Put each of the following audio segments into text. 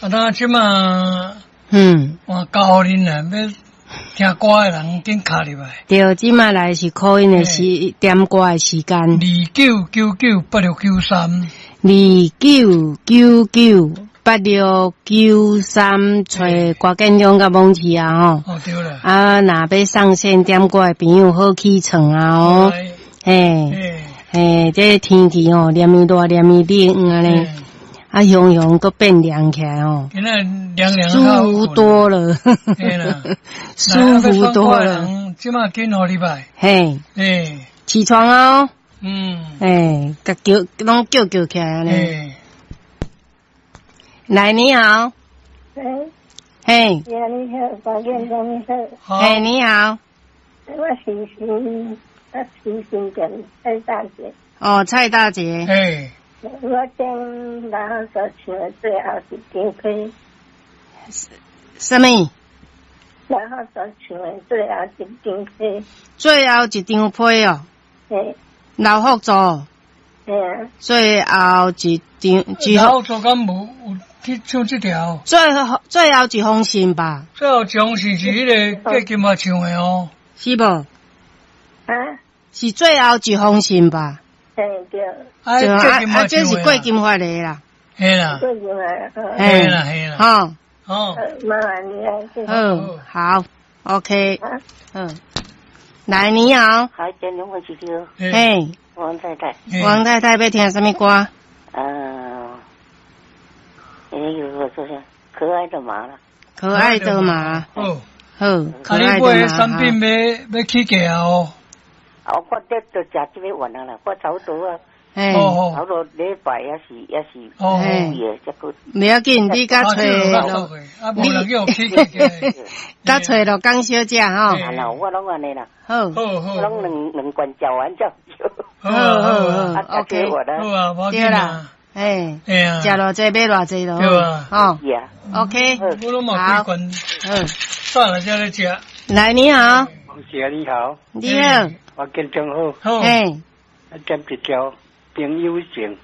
啊，那這馬換交予恁啦，欲聽歌的人緊敲入來。對，這馬來是 call in 的時點歌的時間。29998693。29998693，揣郭建中佮罔市啊吼。哦，對啦。啊，若欲上線點歌的朋友，好起床啊哦。嘿，嘿，這天氣吼，連綿熱，連綿冷按呢。啊，雄雄閣變涼起來哦，舒服多了，舒服多了。這馬緊予入來。嘿，起床哦。哎，共叫，攏叫叫起來按呢。來，你好。喂。嘿。你好，郭建中你好。嘿，你好。我是新店蔡大姐。哦，蔡大姐。嘿。我點老福族唱的最後一張批。啥物？老福族唱的最後一張批。最後一張批哦。嘿。老福族。嘿啊。最後一張，老福族敢無有去唱這條？最後一封信吧。最後一封信是彼个郭金發唱的哦。是無？啊？是最後一封信吧？嘿，對。啊，啊，這是郭金發的啦。嘿啦。郭金發，嘿啦，嘿啦。好。好。麻煩你啊。好，OK。嗯。來，你好。好，建中我是叫。嘿。王太太。王太太欲聽啥物歌？有個說啥？可愛的馬啦。可愛的馬。好。好。可愛的馬。啊，你買產品欲欲起價哦？啊，我這就食這欲完啊啦，我差不多啊。嘿。差不多禮拜也是也是五月這個。袂要緊，你佮揣啊，無人叫起價。佮揣鹿港小姐吼。啊啦，我攏按呢啦。好。好好。我攏兩兩罐食完才。好好好，OK。好啊，對啦。嘿。嘿啊。食偌濟買偌濟囉。對啊。吼。是啊。 OK。我攏嘛幾罐。好。早來才咧食。來，你好。王姐你好。你好。我建中好。好。嘿。點一條朋友情。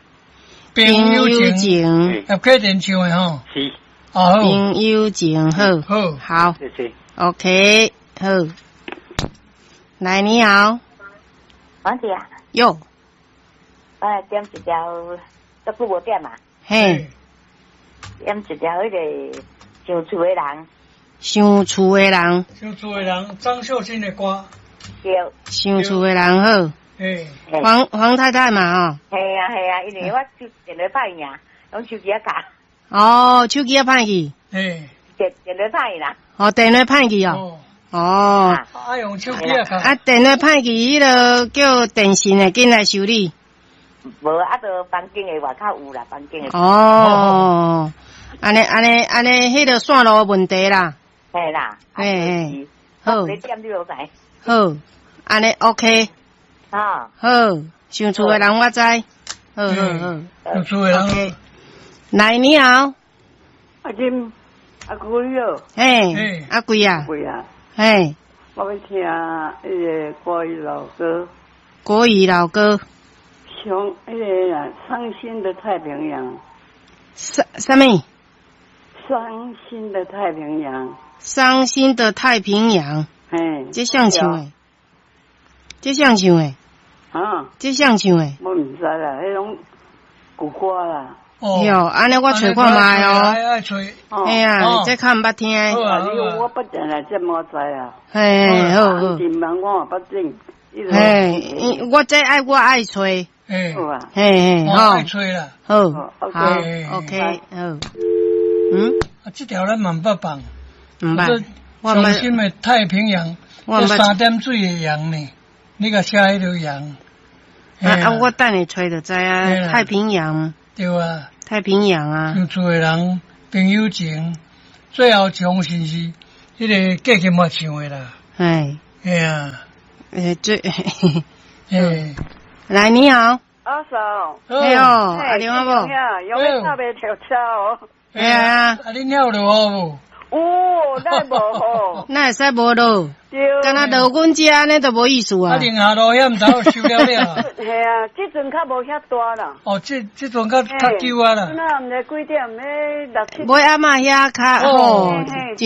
朋友情。葉啟田唱的吼。是。哦。朋友情，好。好。好。謝謝。 OK，好。來，你好。王姐啊。喲。我來點一條，足久無點啊。嘿。點一條彼个想厝的人。想厝的人。想厝的人，張秀清的歌。對。想厝的人好。嘿。黃黃太太嘛吼。係啊係啊，因為我手電話歹去啊，攏手機仔卡。哦，手機仔歹去。嘿。電電話歹去啦。哦，電話歹去哦。哦。啊，用手機仔卡。啊，電話歹去，彼个叫電信的緊來修理。無啊，就房間的外口有啦，房間的。哦，按呢按呢按呢，彼个線路問題啦。嘿啦。嘿嘿。好。你點你就知。好，按呢 OK。啊。好，想厝的人我知。好好好。想厝的人。來，你好。阿金，阿貴哦。嘿。阿貴啊。貴啊。嘿。我欲聽彼個國語老歌。國語老歌。像彼个啊，傷心的太平洋。啥啥物？傷心的太平洋。傷心的太平洋。嘿。這誰唱的？這誰唱的？啊？這誰唱的？我毋知啦，彼種舊歌啦。哦。喲，按呢我揣看覓哦。愛揣。嘿啊，這較毋捌聽。啊，你我捌定來這麼知啊。嘿，好好。電網我嘛捌整。嘿，我這愛我愛揣。嘿，好啊。嘿嘿，好。愛揣啦。好，好，OK，好。嗯。啊，這條咱嘛毋捌放。毋捌。傷心的太平洋，這三點水的洋呢？你共寫彼个洋。啊啊！我等下揣就知啊。太平洋。對啊。太平洋啊。想厝的人，朋友情，最後一封信是彼个郭金發唱的啦。嘿。嘿啊。最。嘿。來，你好。阿嫂。哎喲，阿劉阿某。有欲搭袂著車哦。嘿啊。啊，你尿落雨無？有，哪會無吼？哪會使無落？對。敢若落阮遮按呢都無意思啊，啊。寧夏路遐毋知收了了。嘿啊，這陣較無遐大啦。哦，這陣較較久啊啦。那毋知幾點？欲六七。尾暗仔遐較好，嘿。